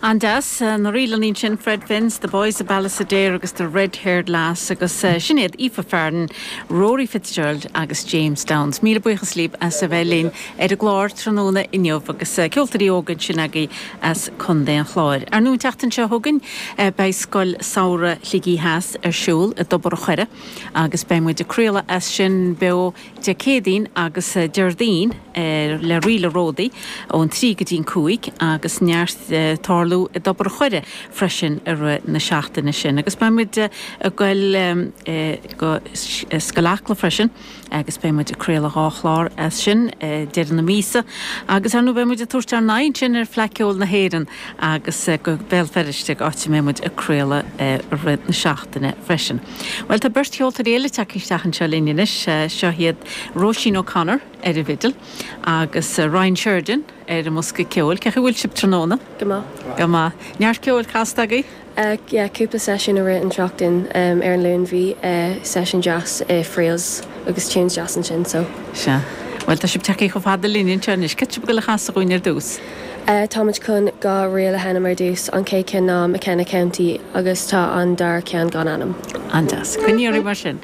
An-deas. Na ríleanna ansin, Fred Finn's, The Boys of Ballysadare agus The Red Haired Lass agus sin iad Aoife Farren, Rory Fitzgerald agus James Downes. Míle buíochas libh as a bheith linn ar an gclár tráthnóna inniu agus ceoltóirí óga ansin agaibh as Contae an Chláir. Ar ndóigh an tseachtain seo chugainn beidh Scoil Samhraidh Shligigh Theas ar siúl i dTobar an Choire agus beidh muid ag craoladh as sin beo Dé Céadaoin agus Déardaoin le Ríle Ródaí ón 3 go dtí'n 5 agus neart ag tarlú i dTobar an Choire freisin i rith na seachtaine sin. Agus beidh muid ag goil go Scoil Acla freisin agus beidh muid ag craoladh dhá chlár as sin deireadh na míosa. Agus ar ndóigh beidh muid ag tabhairt ár n-aghaidh ansin ar Fleadh Ceoil na hÉireann agus go Béal Feirste, áit a mbeidh muid ag craoladh i rith na seachtaine freisin. Bhuel, tá beirt cheoltóirí eile tagtha isteach anseo linn anois. Seo iad Róisín O'Connor ar an bhfidil agus Ryan Sheridan ar an mbosca ceoil. Cén chaoi a bhfuil sibh tráthnóna? Go maith. Go maith. Neart ceoil casta agaibh? Yeah, cúpla seisiún i rith an tseachtain. Ar an Luan bhí seisiún deas i Friels agus tunes deas ansin so. Sea. Bhuel, tá sibh tagtha chomh fada linn anseo anois. Cad tá sibh ag dul a chasadh dhúinn ar dtús? Táimid chun 2 ríl a sheinm ar dtús. An chéad cheann ná McKenna County agus tá an dara ceann gan ainm. An-deas. Coinnigh oraibh mar sin.